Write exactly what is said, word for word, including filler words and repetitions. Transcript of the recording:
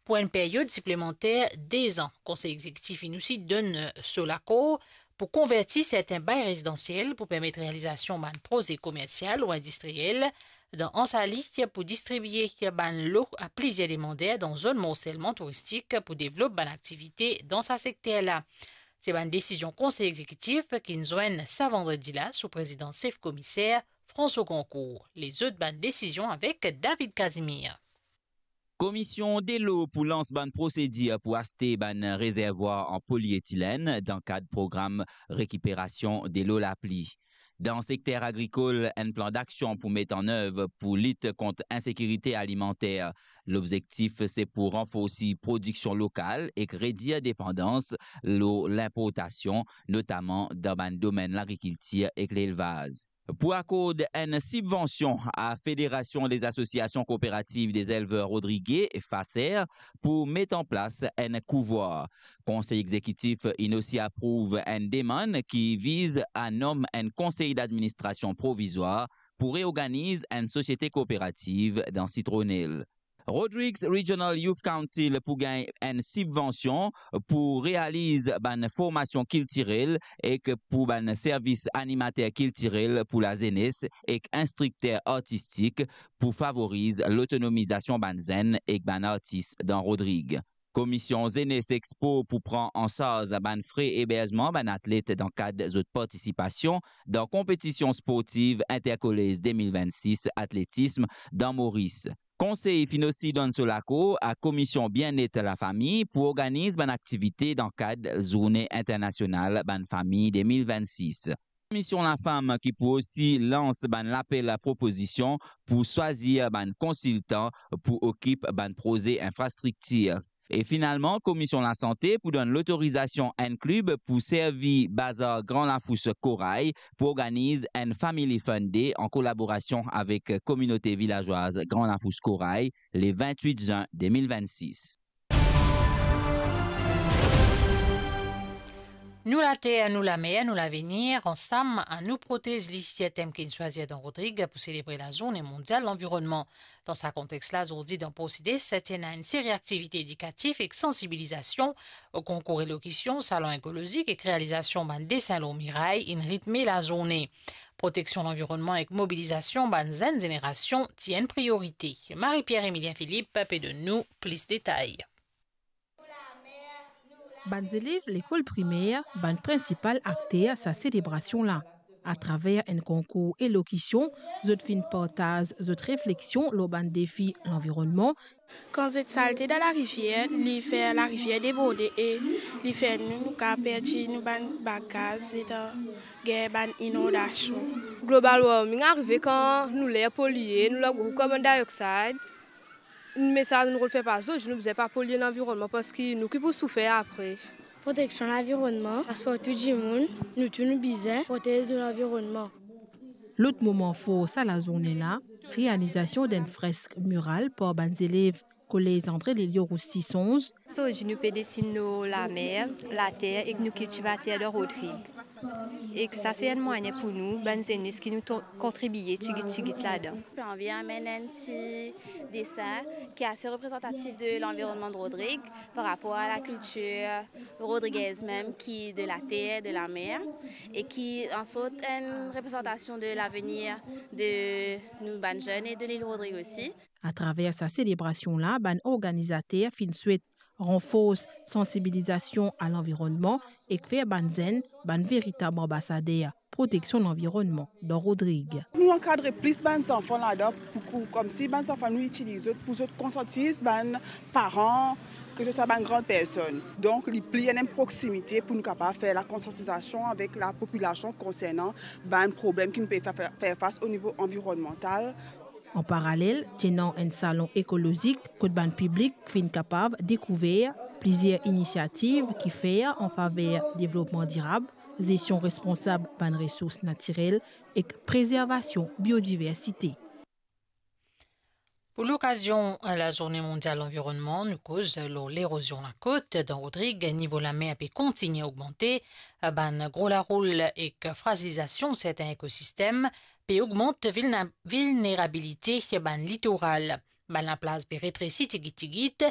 pou enn peryod siplemanter de zan. Konsey Egzekitif inn osi donn so lakor pou konverti serten bay rezidansiel pou permet realizasion bann proze komersial ou indistriel dan Ansali pou distribie bann lo a plizier demander dan zonn morselman touristik pou devlop bann aktivite dan sa sekter la. Se bann desizion Konsey Egzekitif ki'nn zwenn sa vandredi la sou prezidans sef komiser François Goncourt. Lezot bann desizion avek David Casimir. Komisyon delo pou lans bann prosedir pou aste bann rezervwar an polietilenn dan kad program rekiperasion delo lapli. Dan sekter agrikol, enn plan daksion pou met an nev pou lit kont insekirite alimanter. Lobzektif se pou ranforsi prodiksion lokal ek redir depandans lor linportasion, notaman dan bann domenn lagrikiltir ek lelvaz. Pou akord enn sibvansion a Fédération des Associations Coopératives des Éleveurs Rodriguais, FACER, pou met an plas enn kouvwar. Konsey Egzekitif inn osi aprouv enn demann ki viz a nom enn konsey d'administrasion provizwar pou reorganiz enn sosiete kooperativ dan Sitronel. Rodrigues Regional Youth Council pou gagn enn sibvansion pou realiz bann formasion kiltirel ek pou bann servis animater kiltirel pou lazenes ek instrikter artistik pou favoriz lotonomizasion bann zenn ek bann artis dan Rodrig. Komisyon Zenes Expo pou pran an sarz bann fre eberzman bann atlet dan kad zot partisipasion dan konpetision sportiv Intercollège de mil vennsis atletism dan Moris. Konsey finn osi donn so lakor a Komisyon Bienet Lafami pou organiz bann aktivite dan kad Zourne Internasional Bann Fami de mil vennsis. Komisyon Lafam ki pou osi lans bann lapel a propozision pou swazir bann konsiltan pou okip bann proze infrastriktir. E finalman, Komisyon Lasante pou donn lotorizasion enn klib pou servi bazar Gran Lafous Koray pou organiz enn Family Fun Day an kolaborasion avek kominote vilazwaz Gran Lafous Koray, le vintwit zin de mil vennsis. Nou later, nou lamer, nou lavenir, ansam, annou protez li, tem ki'nn swazir dan Rodrig pou selebre Lazourne Mondial Lanvironnman. Dan sa kontex la, zordi dan Por Sides, ti ena enn seri aktivite edikatif ek sansibilizasion, konkour elokision, salon ekolozik ek realizasion bann desin lor miray inn ritme lazourne. Proteksion lanvironnman ek mobilizasion bann zenn zenerasion ti enn priorite. Marie-Pierre Emilien Philippe pe donn nou plis detay. Bann zelev lekol primer, bann prinsipal akter sa selebrasion la. Atraver enn konkour elokision, zot finn partaz zot refleksion lor bann defi lanvironnman. Kan zet salte dan larivier, li fer larivier deborde e li fer nou, nou kapav perdi nou bann bagaz letan gagn bann inondasion. Global warming arive kan nou ler polie, nou lor gro carbon dioxide. Me sa nou rod fer pa zot, nou bizin pa polie lanvironnman parski nou ki pou soufer apre. Proteksion lanvironnman, pas partou dimoun, nou tou nou bizin protez nou lanvironnman. Lot moman for sa lazourne la, realizasion d'enn fresk miral par bann zelev Kolez André Lelio Roussy Sonz. Zordi nou pe desin nou lamer, later ek nou kiltivater dan Rodrig. Ek sa se enn mwayin pou nou, bann zenes ki nou to-, kontribie tigit tigit ladan. Pe anvi amenn enn ti desin ki ase reprezantatif de lanvironnman de Rodrig par rapor a lakiltir rodrigez mem ki de later, de lamer e ki ansort enn reprezantasion de lavenir de nou bann zenn e de lil Rodrig osi. Atraver sa selebrasion la, bann organizater finn swet ranfors sansibilizasion a lanvironnman ek fer bann zenn bann veritab anbasader proteksion lanvironnman dan Rodrig. Nou ankadre plis bann zanfan ladan pou, pou, koumsi bann zanfan nou itiliz zot pou zot konsiantiz bann paran, ke se swa bann gran personn. Donk, li pli ena enn proksimite pou nou kapav fer lakonsiantizasion avek lapopilasion konsernan bann problem ki nou pe fer, fer, fer fas o nivo anvironnmantal. An paralel, ti ena enn salon ekolozik kot bann piblik finn kapav dekouver plizier inisiativ ki fer an faver devlopman dirab, zestion responsab bann resours natirel ek prezervasion biodiversite. Pou lokazion Lazourne Mondial Lanvironnman, nou koz lor lerozion lakot. Dan Rodrig, nivo lamer pe kontigne ogmante. Bann gro laroul ek frazilizasion serten ekosistem pe ogmant vilna-, vilnerabilite bann litoral. Bann laplas pe retresi tigit tigit,